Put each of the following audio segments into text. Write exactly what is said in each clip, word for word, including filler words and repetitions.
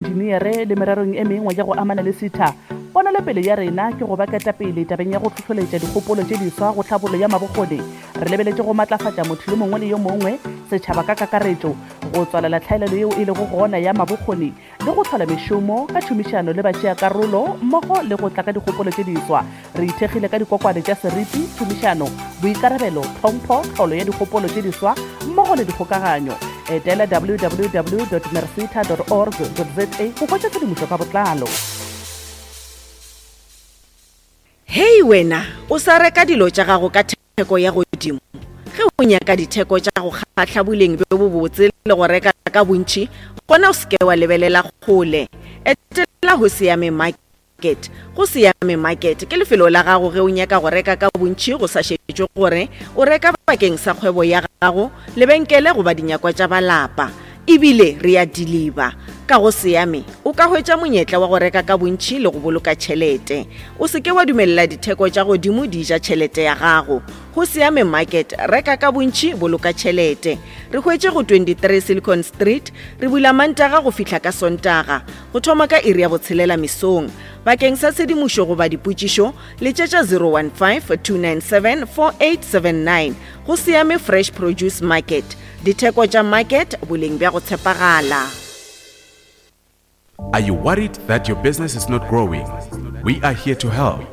Boentšeneere le mererong e mengwe ya go amana le SETA. Ponelopele ya rena ke go ba ketapele tabeng ya go hlohloletša dikgopolo tše diswa go tlhabollo ya mabokgoni. Re lebeletše go matlafatša motho yo mongwe le yo mongwe, setšhaba ka kakaretšo, go tswalela tlhaelelo yeo e lego gona ya mabokgoni le go hlola mešomo ka tšhomišano le batšeakarolo mmogo le go tla ka dikgopolo tše diswa. Re ithekgile ka dikokwane tša seriti, tšhomišano, boikarabelo, tlhompho, tlholo ya dikgopolo tše diswa mmogo le dikgokaganyo. Etela www dot merseta dot org dot za go hwetša tshedimošo ka botlalo. Hei wena, o sa reka dilo tša gago ka theko ya godimo? Ge o nyaka ditheko tša go kgahla, boleng bjo bobotse le go reka ka bontši, gona o se ke wa lebelela kgole. Etela Hosiame Market. Hosiame Market ke lefelo la gago ge o nyaka go reka ka bontši go sa šetšwe gore o reka bakeng sa kgwebo ya gago, lebenkele goba dinyakwa tša ba lapa. E bile re a diliba. Ka go Siame, o ka hwetša monyetla wa go reka ka bontši le go boloka tšhelete. O se ke wa dumelela ditheko tša godimo di ja tšhelete ya gago. Go Siame Market, reka ka bontši, boloka tšhelete. Re hwetše go twenty three Silicon Street. Re bula Mantaga go fihla ka Sontaga, go thoma ka iri ya botshelela mesong. Bakeng sa tshedimošo goba dipotšišo, letšetša zero one five, two nine seven, four eight seven nine. Go Siame Fresh Produce Market. Ditheko tša market, boleng bja go tshepagala. Are you worried that your business is not growing? We are here to help.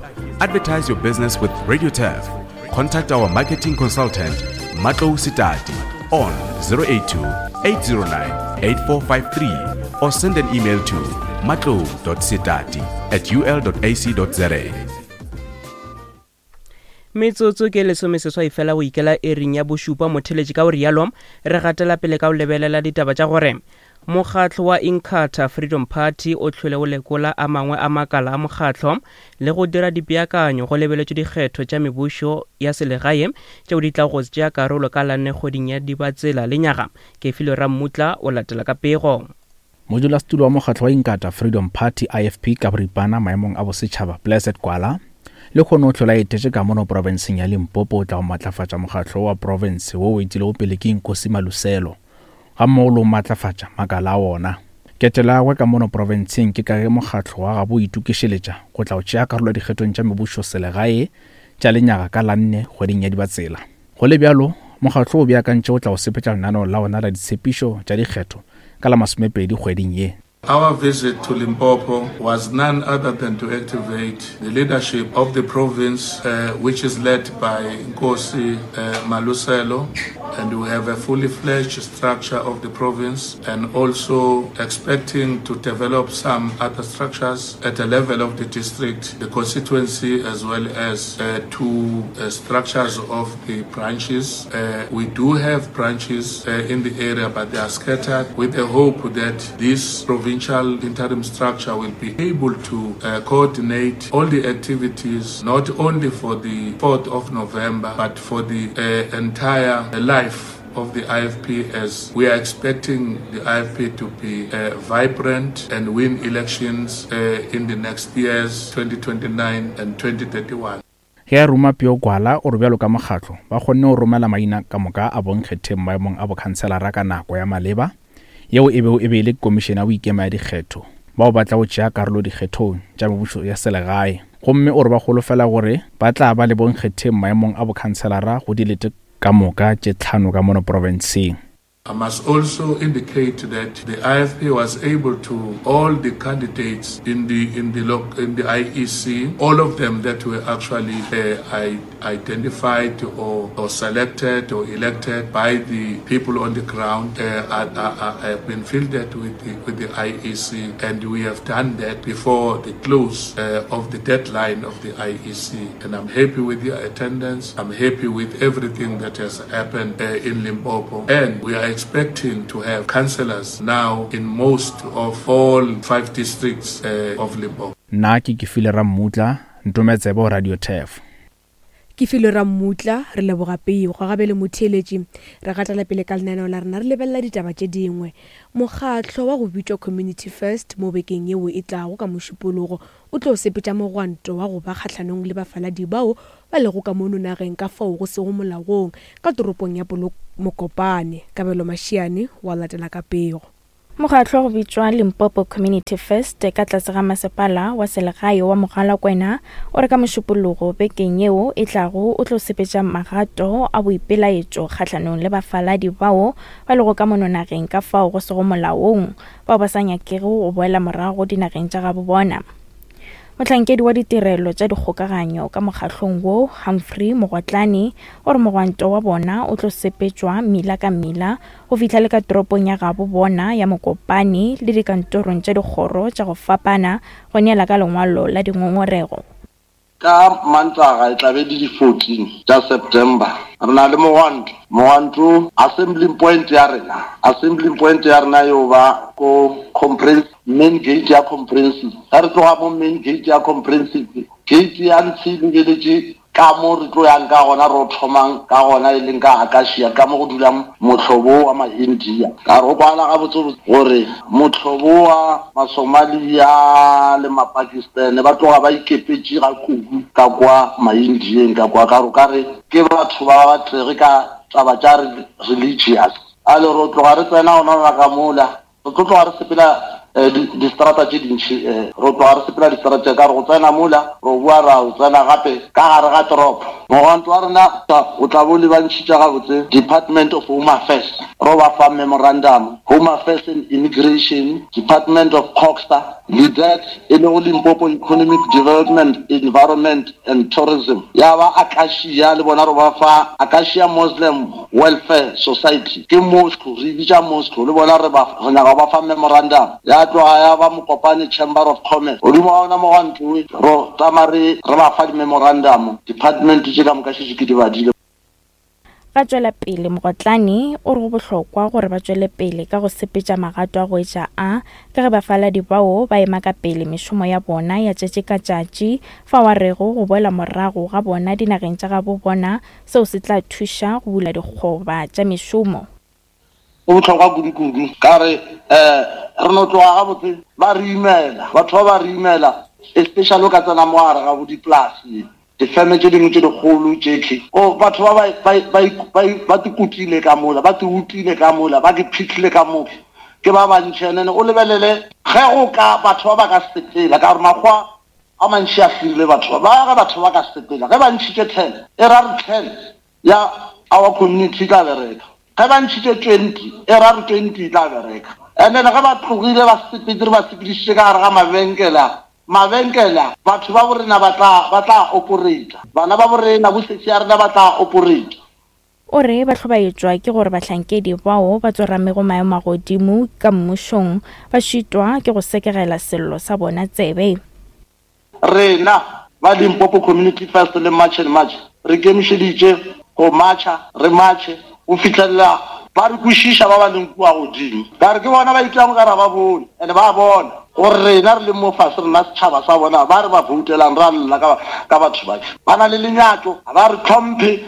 Advertise your business with Radio Turf. Contact our marketing consultant, Matlou Sitati, on zero eight two, eight zero nine, eight four five three or send an email to matlou dot sitati at u l dot a c dot z a. Metsotso ke lesomeseswai fela go ikela ering ya bošupa motheletši ka o rialo re gatela pele ka go lebelela ditaba tša gore mokgatlo wa Inkatha Freedom Party o hlwele o lekola a mangwe a makala a mokgatlo le go dira dipeakanyo go lebeletšwe dikgetho tša mebušo ya selegae tšeo di tla go tšea karolo ka lanne kgweding ya Dibatsela lenyaga. Kefilwe Rammutla o latela ka pego. Modulasetulo wa mokgatlo wa Inkatha Freedom Party I F P ka boripana maemong a bosetšhaba Blessed Gwala le kgone o hlola etetše ka mono profenseng ya Limpopo o tla go matlafatša mokgatlo wa profense wo o etilego pele ke Nkosi Maluselo ga mmogo le o matlafatša makala a wona. Ketelo ya gagwe ka mono profenseng ke ka ge mokgatlo wa gabo o itokišeletša go tla go tšea karolo dikgethong tša mebušo selegae tša lenyaga ka lanne kgweding ya Dibatsela. Go le bjalo, mokgatlo o beakantše o tla go sepetša lenaneo la ona la ditshepišo tša dikgetho ka la masomepedi kgweding ye. Our visit to Limpopo was none other than to activate the leadership of the province, uh, which is led by Nkosi, uh, Maluselo, and we have a fully fledged structure of the province, and also expecting to develop some other structures at the level of the district, the constituency, as well as, uh, two, uh, structures of the branches. Uh, we do have branches, uh, in the area, but they are scattered, with the hope that this provincial interim structure will be able to, uh, coordinate all the activities, not only for the fourth of November, but for the, uh, entire life of the I F P, as we are expecting the I F P to be, uh, vibrant and win elections, uh, in the next years, twenty twenty-nine and twenty thirty-one. Ge a ruma Pio Gwala o re bjalo ka mokgatlo ba kgonne go romela maina ka moka a bonkgetheng maemong a bokhanselara ka nako ya maleba yeo e bego e be e le komišene ya boikema ya dikgetho bao ba tla go tšea karolo dikgethong tša mebušo ya selegae, gomme o re ba holofela gore ba tla ba le bonkgetheng maemong a bokhanselara go dilete ka moka tše tlhano ka mono profenseng. I must also indicate that the I F P was able to, all the candidates in the, in the, loc-, in the I E C, all of them that were actually, uh, I-, identified or, or selected or elected by the people on the ground, uh, are, are, are, have been fielded with the, with the I E C, and we have done that before the close, uh, of the deadline of the I E C. And I'm happy with the attendance. I'm happy with everything that has happened, uh, in Limpopo, and we are expecting to have councillors now in most of all five districts, uh, of Limpopo. Nna ke Kefilwe Rammutla, Ntometsebo Radio Turf. Kefilwe Rammutla, re leboga peo, go gabe le motheeletši. Re gatela pele ka lenaneo la rena, re lebelela ditaba tše dingwe. Mokgatlo wa go bitšwa Community First mo bekeng yeo e tlago ka Mošupologo o tlo sepetša mogwanto wa go ba kgahlanong le bafaladi bao ba lego ka mono nageng ka fao go sego molaong ka toropong ya Polokwane. Kabelo Mashiane wa latela ka pego. Mokgatlo go bitšwa Limpopo Community First ka tlase ga masepala wa selegae wa Mogalakwena o re ka Mošupologo bekeng yeo e tlago o tlo sepetša magato a boipelaetšo kgahlanong le bafaladi bao ba lego ka mono nageng ka fao go sego molaong bao ba sa nyakego go boela morago dinageng tša gabo bona. Mohlankedi wa ditirelo tša dikgokaganyo ka mokgahlong wo, Humphrey Mogotlane, o re mogwanto wa bona o tlo sepetšwa mmila ka mmila go fihla le ka toropong ya gabo bona ya Mokopane le dikantorong tša dikgoro tša go fapana go neela ka lengwalo la dingongorego. Ka Mantaga e tla be di di-fourteen tša September re na le mogwanto. Mogwanto assembly point ya rena, assembly point ya rena yo ba ko comprehensive, main gate ya comprehensive. Ga re tloga mo main gate ya comprehensive, gate ya ntshe e lebeletše ka mo re tlo yang ka gona, re thomang ka gona e leng ka Acacia, ka mo go dulang mohlobo wa ma-India. Ka re go kwala gabotsebotse gore mohlobo wa ma-Somalia le ma-Pakistan ba tloga ba ikepetše ga kudu ka kwa ma-Indieng ka kwa, ka re ka re ke batho ba ba tlege ka taba tša religious. A le re tloga re tsena gona ka mola, re tlo tloga re sepela distrata tše dintši, re tloga re sepela distrata tše ka re go tsena mola, re boa ra o tsena gape ka gare ga toropo. Mogwanto wa rena o tla bo lebantšhitše gabotse Department of Home Affairs, ro ba fa memorandum, Home Affairs and Immigration, Department of COGHSA, LIDET e lego Limpopo Economic Development, Environment and Tourism, ya ba Acacia le bona re ba fa Acacia Muslim Welfare Society, ke mosque, re bitša mosque, le bona re ba re nyaka ba fa memorandum. Ya tloga ya ba Mokopane Chamber of Commerce, godimo ga ona mogwanto ro tsamaya re re ba fa di-memorandum, department tše ka moka šetše ke di badile. Ga tšwela pele Mogotlane o re go bohlokwa gore ba tšwele pele ka go sepetša magato a go etša a ka ge bafaladi bao ba ema ka pele mešomo ya bona ya tšatši ka tšatši, fao a rego go boela morago ga bona dinageng tša gabo bona seo se tla thuša go bula dikgoba tša mešomo. Go bohlokwa kudu-kudu ka re um re no tloga gabotse ba re imela, batho ba ba re imela, especially o ka tsena mo gare ga bo dipolase, difeme tše dingwe tše dikgolo tšekhe, o batho ba ba ba ba tikutile ka mola, ba tiutile ka mola, ba ke phihlile ka mola, ke ba bantši. Ene o lebelele ge go ka batho ba ba ka sepela, ka gore makgwa a mantši a firile batho ba, ba ge batho ba ka sepela, ge ba ntšhitše ten, e ra re ten ya our community e tla bereka, ge ba ntšhitše twenty, e ra re twenty e tla bereka. And then ge ba tlogile ba sepetse, re ba sepedišitše ka gare ga mabenkele a, mabenkele batho ba borena ba tla ba tla operate, bana ba borena bosesi ya rena ba tla operate. O re ba hlobaetšwa ke gore bahlankedi bao ba tsoramego maemo a godimo ka mmušong ba šitwa ke go sekegela sello sa bona tsebe. Rena ba Limpopo Community First le March and March re kemišeditše go marcha, re marche go fihlelela ba re kwešiša ba ba leng kua godimo, ka re ke bona ba itlang ka ra ba bone, and ba bona gore rena re le mo fase, rena setšhaba sa bona ba re ba voutelang, ra lla ka ka batho ba ba na le lenyatšo, ba re tlhomphe.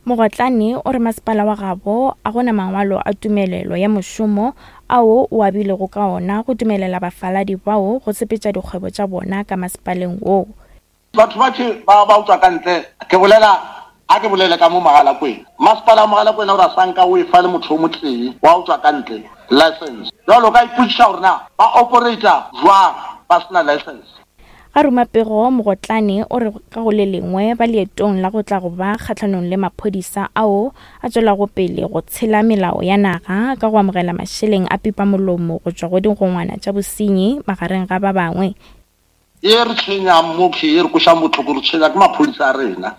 Mogotlane o re masepala wa gabo a gona mangwalo a tumelelo ya mošomo ao o abilego ka ona go dumelela bafaladi bao go sepetša dikgwebo tša bona ka masepaleng woo. Batho ba tše ba ba utswa ka ntle, ke bolela a ke bolele ka mo Mogalakwena, masepala wa Mogalakwena o ra sanka o e fa le motho o motee wa utswa ka ntle license. Jwalo ka ipotšiša gore na ba operata jwang ba sena license. Ga ruma pego Mogotlane o re ka go le lengwe ba leetong la go tla go ba kgahlanong le maphodisa ao a tšwelago pele go tshela melao ya naga ka go amogela mašeleng a pipamolomo go tšwa go digongwana tša bosenyi magareng ga ba bangwe. E re tshwenyang mo ke e re košang bohloko, re tshwenya ke maphodisa a rena.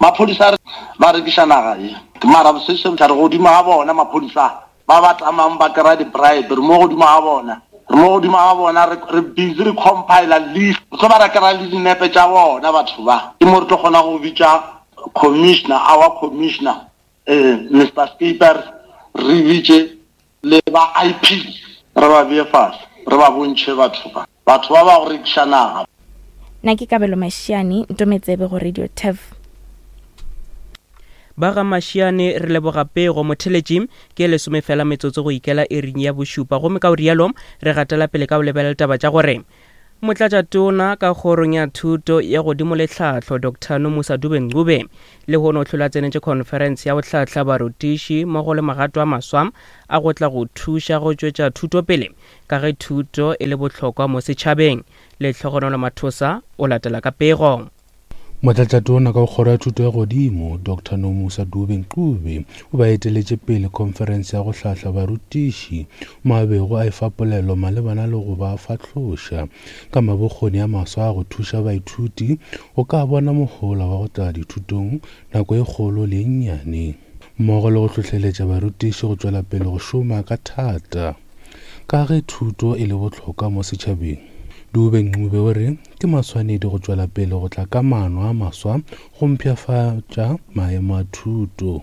Maphodisa ba rekiša naga ye, mara bosese re godimo ga bona maphodisa ba ba tlamang ba kry-a di-bribe, re mo godimo ga bona, re mo godimo ga bona, re busy re compile list, re tlo ba ra kry-a le dinepe tša bona batho ba. Ke mo re tlo kgona go bitša commissioner, our commissioner, um Mister Skipper, re bitše le ba I P, re ba beye fase, re ba bontšhe batho ba, batho ba ba go rekiša naga. Nna ke Kabelo Mashiane, Ntometsebe go Radio Turf. Ba ga Mashiane re leboga pego motheletši ke lesome fela metsotso go ikela iring ya bošupa, gomme ka o rialo re gatela pele ka go lebelela taba tša gore Motlatšatona ka kgorong ya thuto ya godimo le tlhahlo Doctor Nomusa Dube-Ncube lehono o hlola tsenetše conference ya go hlahla barutiši mmogo le magato a maswa a go tla go thuša go tšwetša thuto pele ka ge thuto e le bohlokwa mo setšhabeng. Lehlogonolo Mathosa o latela ka pego. Motlatšatona ka kgoro ya thuto ya godimo Doctor Nomusa Dube-Ncube o ba eteletše pele conference ya go hlahla barutiši mo a bego a efa polelo malebana le go ba fahloša ka mabokgoni a maswa a go thuša baithuti go ka bona mohola wa go tla dithutong nako e kgolo le e nnyane, mmogo le go hlohleletša barutiši go tšwela pele go šoma ka thata ka ge thuto e le bohlokwa mo setšhabeng. Dube-Ncube o re ke maswanedi go tšwela pele go tla ka maano a maswa go mpshafatša maemo a thuto.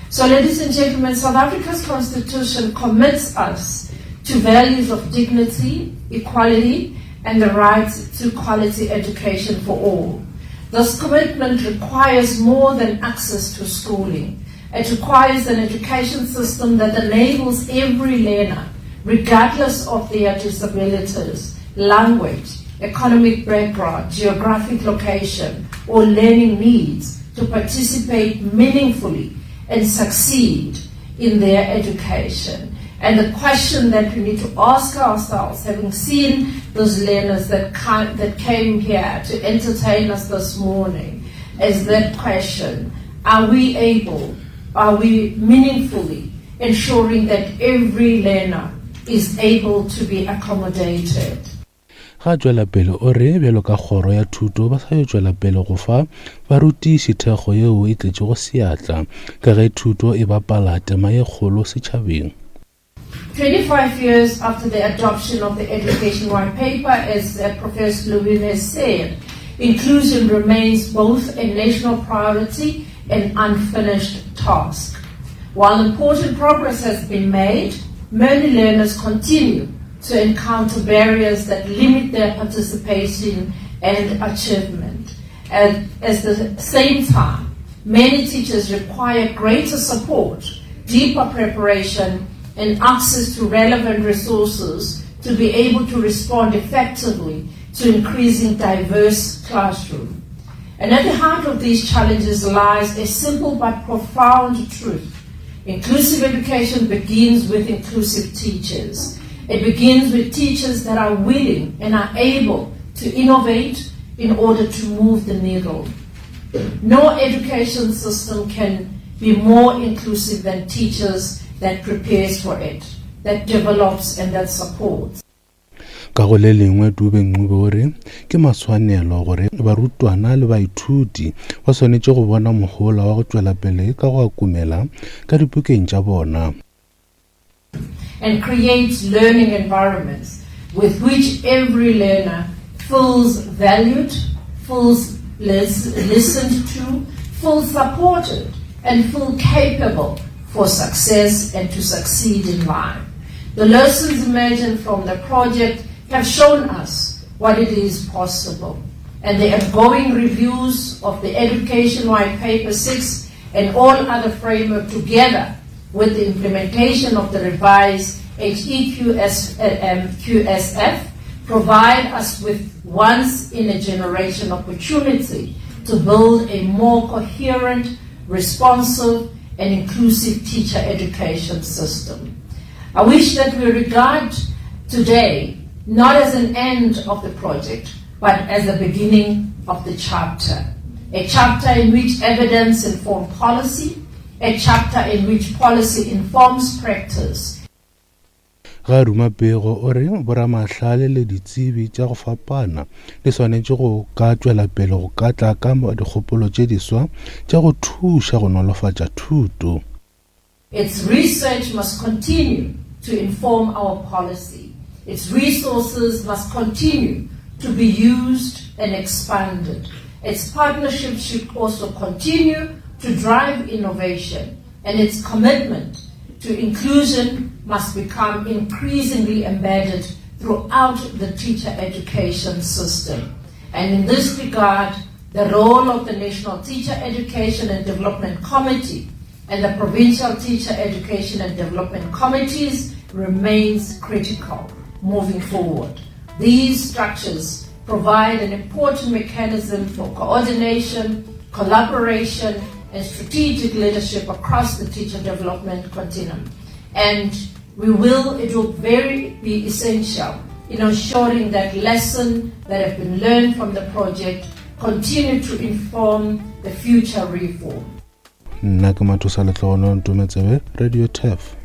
So, ladies and gentlemen, South Africa's constitution commits us to values of dignity, equality, and the right to quality education for all. This commitment requires more than access to schooling. It requires an education system that enables every learner, regardless of their disabilities, language, economic background, geographic location, or learning needs to participate meaningfully and succeed in their education. And the question that we need to ask ourselves, having seen those learners that ca-, that came here to entertain us this morning, is that question: are we able, are we meaningfully ensuring that every learner is able to be accommodated? Ga tšwela pele o re bjalo ka kgoro ya thuto ba sa yo tšwela pele go fa barutiši thekgo yeo e tletšego seatla ka ge thuto e bapala tema ye kgolo setšhabeng. twenty-five years after the adoption of the Education White Paper, as, uh, Professor Lewin has said, inclusion remains both a national priority and unfinished task. While important progress has been made, many learners continue to encounter barriers that limit their participation and achievement. And at the same time, many teachers require greater support, deeper preparation, and access to relevant resources to be able to respond effectively to increasing diverse classrooms. And at the heart of these challenges lies a simple but profound truth. Inclusive education begins with inclusive teachers. It begins with teachers that are willing and are able to innovate in order to move the needle. No education system can be more inclusive than teachers that prepares for it, that develops and that supports. Ka go le lengwe Dube-Ncube o re ke maswanelo gore barutwana le baithuti ba swanetše go bona mohola wa go tšwela pele ka go akumela ka dipukeng tša bona. And create learning environments with which every learner feels valued, feels lis-, listened to, feels supported, and feels capable for success and to succeed in life. The lessons emerging from the project have shown us what it is possible, and the ongoing reviews of the Education White Paper six and all other framework together with the implementation of the revised H E Q S, um, Q S F provide us with once-in-a-generation opportunity to build a more coherent, responsive, and inclusive teacher education system. I wish that we regard today not as an end of the project, but as the beginning of the chapter. A chapter in which evidence informs policy, a chapter in which policy informs practice. Ga ruma pego o re boramahlale le ditsebi tša go fapana di swanetše go ka tšwela pele go ka tla ka dikgopolo tše diswa tša go thuša go nolofatša thuto. Its research must continue to inform our policy. Its resources must continue to be used and expanded. Its partnerships should also continue to drive innovation, and its commitment to inclusion must become increasingly embedded throughout the teacher education system. And in this regard, the role of the National Teacher Education and Development Committee and the Provincial Teacher Education and Development Committees remains critical moving forward. These structures provide an important mechanism for coordination, collaboration, and strategic leadership across the teacher development continuum. And we will, it will very be essential in ensuring that lessons that have been learned from the project continue to inform the future reform. Nna ke Mathosa Letlogono, Ntometsebe, Radio Turf.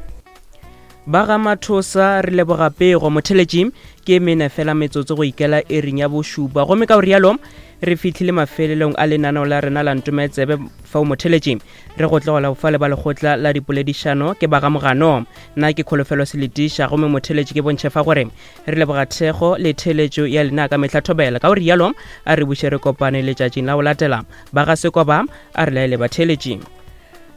Ba ga Mathosa, re leboga pego. Motheletši, ke mene fela metsotso go ikela ering ya bošupa, gomme ka o rialo re fihlile mafelelong a lenaneo la rena la Ntometsebe. Fao motheletši re go tlogela go fa le ba lekgotla la dipoledišano ke ba ga Mogano. Nna ke Kholofelo Seletiša, gomme motheletši ke bontšhe fa gore re leboga thekgo le theletšo ya lena ka mehla. Thobela. Ka o rialo a re buše re kopane letšatšing la go latela. Ba ga Sekoba, a re laele batheletši.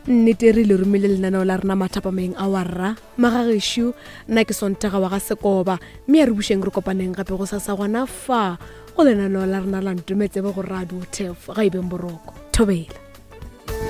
Nnete re le romile lenaneo la rena mathapameng a warra magagešo. Nna ke Sontaga wa ga Sekoba, mme a re bušeng re kopaneng gape go sasa gona fa go lenaneo la rena la Ntometsebe go Radio Turf. Ga e beng boroko, thobela.